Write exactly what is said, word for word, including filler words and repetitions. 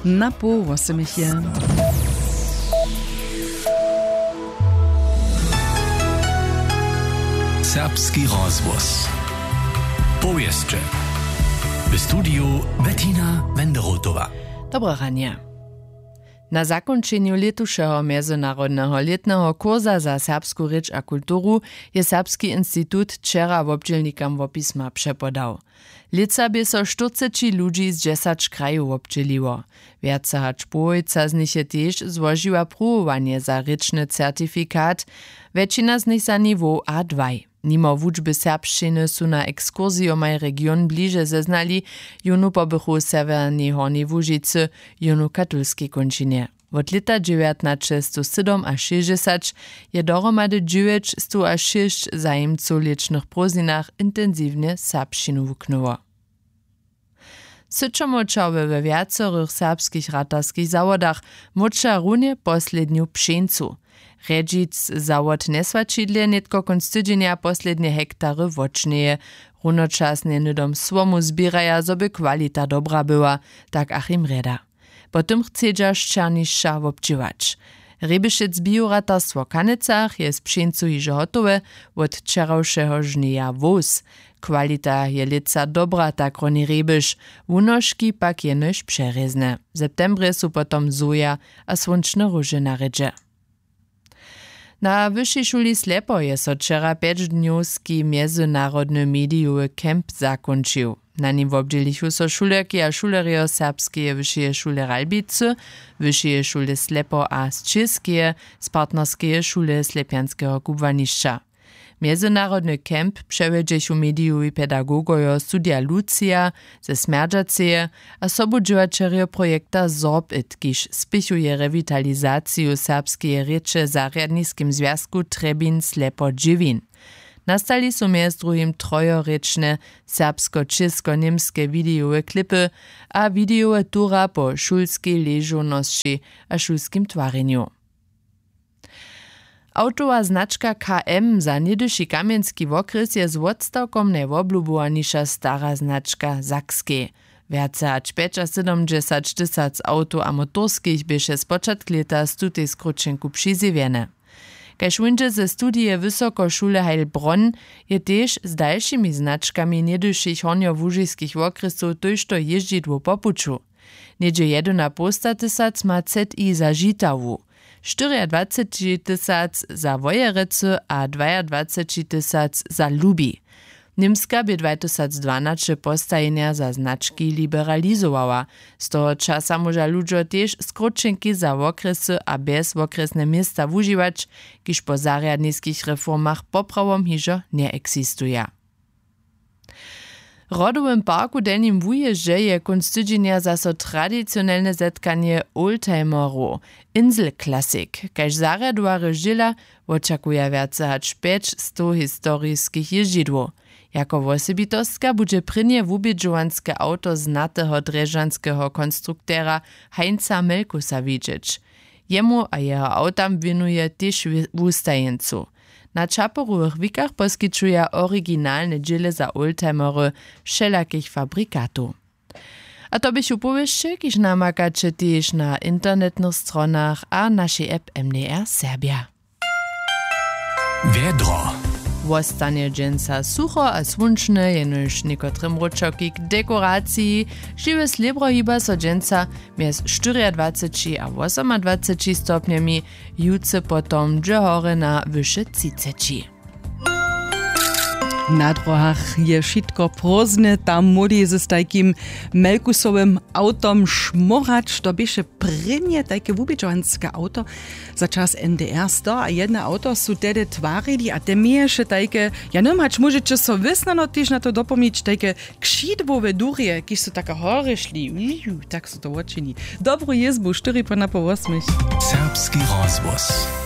Na poł wosomich je. Serbski rozhłos. Powěsće. W studiju Bettina Wenderotowa. Dobre ranje. Na zakónčenju lětušeho mjezynarodneho lětneho kursa za serbsku rěč a kulturu je Serbski institut wčera wobdźělnikam wopisma přepodał. Lětsa bě so štyrceći ludźi z dźesać krajow wobdźěliło. Wjace hač połojca z nich je tež złožiła pruwowanje za rěčny certifikat, wjetšina z nich za niwow a dwaj. Nimo wučby serbšćiny su na ekskursijomaj region bliže zeznali jónu pobychu w sewjernej Hornjej Łužicy, jónu w katolskej kónčinje. Wot lěta dźewjatnaćestosydomašěsćdźesaćich je dohromady dźewjećstowašěsć zajimcow w lěćnych prózdninach intensiwnje serbšćinu wuknyło. Syćomóčerjo we wjacorych serbskich ratarskich zawodach móča runje poslednju pšeńcu. Rjedźic zawod njeswaćidle nětko kónc tydźenja poslednje hektary wotšnjeje. Runočasnje hnydom słomu zběraja, zo by kwalita dobra była, tak Achim Rjeda. Po tym chcedźa šćernišća wobdźěłać. Rjebešec bioratarstwo w Kanecach je z pšeńcu hižo hotowe, wot wčerawšeho žnjeja wós. Kwalita je lětsa dobra, tak roni Rjebeš, wunožki pak jenož přerězne. W septembrje su potom soja a słónčne róže na rědźe. Na wyšej šuli Slepo je so wčera pjećdnjowski mjezynarodny medijowy camp zakónčił. Na nim wobdźělichu so šulerki a šulerjo Serbskeje wyšeje šule Ralbicy, Wyšeje šule Slepo a z Čěskeje, z Partnerskeje šule Slepjanskeho kubłanišća. Mjezynarodny camp přewjedźechu medijowi pedagogojo Studija Lucija ze Smjerdźaceje a sobudźěłaćerjo projekta Sorbit, kiž spěchuje rewitalizaciju serbskeje rěče w zarjadniskim zwjazku Trjebin Slepo Dźěwin. Nastali su mjez druhim trojorěčne serbsko-čěsko-němske widejowe klipy a widejowe tura po šulskej ležownosći a šulskim twarjenju. Awtowa značka K M za něhdyši kamjenski wokrjes je z wotstawkom najwoblubowaniša stara značka w Sakskej. Wjace hač pjećasydomdźesać tysac awtow a motorskich běše spočatk lěta z tutej skrótšenku přizjewjene. Kaž wón dźe ze studije Wysokošule Heilbronn, je tež z dalšimi značkami něhdyšich hornjołužiskich wokrjesow tójšto jězdźidłow po puću. Něhdźe jedynapołstatysac ma Z I za Žitawu, štyriadwacećitysac za Wojerecy a dwajadwacećitysac za Lubi. Němska bě dwatysacdwanaće postajenja za znački liberalizowała. Z toho časa móža ludźo tež skrótšenki za wokrjesy a bjez wokrjesne města wužiwać, kiž po zarjadniskich reformach poprawom hižo njeeksistuja. W rodowym parku w Delnim Wujězdźe je kónc tydźenja zaso tradicionelne zetkanje oldtimerow Insel Classic, kaž zarjadowarjo zdźěla, wočakuja wjace hač pjećstow historiskich jězdźidłow. Jako wosebitostka budźe prěnje wubědźowanske awto znateho drježdźanskeho konstruktera Heinza Melkusa widźeć. Jemu a jeho awtam wěnuje tež wi- wustajeńcu. Na čaporuwych wikach poskićuja originalne dźěle za oldtimery wšelakich fabrikatow. A to běchu powěsće, kiž namakaće tež na internetnych stronach a našej app M D R Serbja. Wjedro. Wostanje dźensa sucho a słónčne, jenož někotre mróčawki k dekoraciji. Žiwe slěbro hiba so dźensa mjez štyriadwaceći a wosomadwaceći stopnjemi, jutře potom dźe horje na wyše třiceći. Na dróhach je wšitko prózdne, tam móhli z tajkim Melkusowym awtom šmórać. To běše prěnje tajke wubědźowanske awto za čas N D R. Sto a jedne awto su tehdy twarili a te měješe tajke, ja njewěm, hač móžeće so wěsnano tež na to dopomnić, tajke křidłowe durje, kiž su tak horje šli, tak su to wočini. Dobru jězbu, štyri po napoł wosmich. Serbski rozhłos.